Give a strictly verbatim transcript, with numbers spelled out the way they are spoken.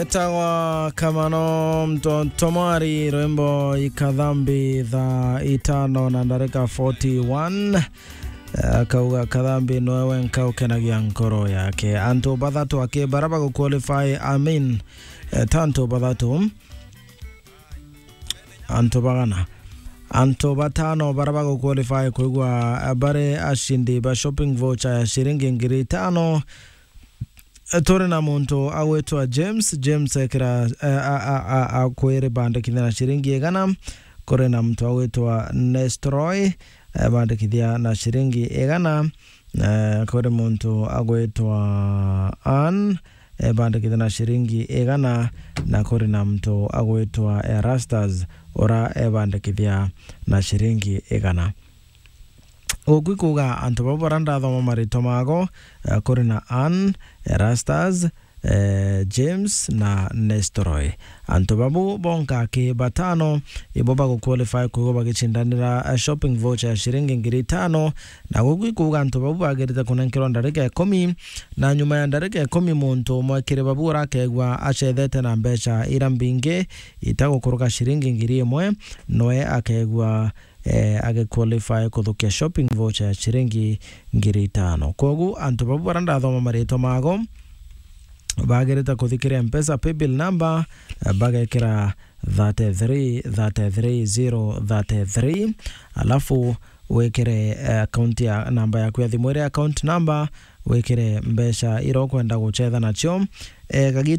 Etagwa Kamano Mto-, Tomari, rwimbo Ikathambi thaa itano na ndarika forty-one. Eh, akauga Kathambi noe wenka ukenagia nkoro yake. Antu bathatu aki bara baguqualify, I mean, eh, ta antu bathatu. Antu bagana. Antu batano bara baguqualify kwigua, eh, bari ashindi ba shopping voucher ya shiringi ngiri itano. Turi na muntu agwitwa James. James ekira, eh, a, a, a, akwiri bandikithia na shiringi igana. Kuri na muntu agwitwa Nestroy, eh, bandikithia na shiringi igana. Eh, kuri muntu agwitwa Ann, eh, bandikithia na shiringi igana, na kuri na muntu agwitwa Erastus, ura ebandikithia na shiringi igana. Guku ikuuga antu bau bara ndathoma maritwa mago, eh, kuri na Ann, Erastus, eh, James na Nestroy. Antu babu bonka aki batano ibo baguqualify kwigua bagicindanira, eh, shopping voucher ya shiringi ngiri itano, na guku ikuuga antu babu bagirite kunenkerwa ndarika ikumi, na nyuma ya ndarika ikumi muntu umwe kiri babu urakegua acethete na mbeca ira mbingi itagukuruka shiringi ngiri imwe, noe akegua eh, agiqualify kuthukia shopping voucher ya shiringi ngiri itano. Kwogu antu babu bara ndathoma maritwa mago, bagirite kuthikiria Mpesa paybill number, eh, bagekira thirty-three thirty-three zero thirty-three, alafu wikire, eh, account ya, namba yaku ya thimu iria account number, wikire mbeca iria ukwenda gucetha nacio. Eh, gagi-,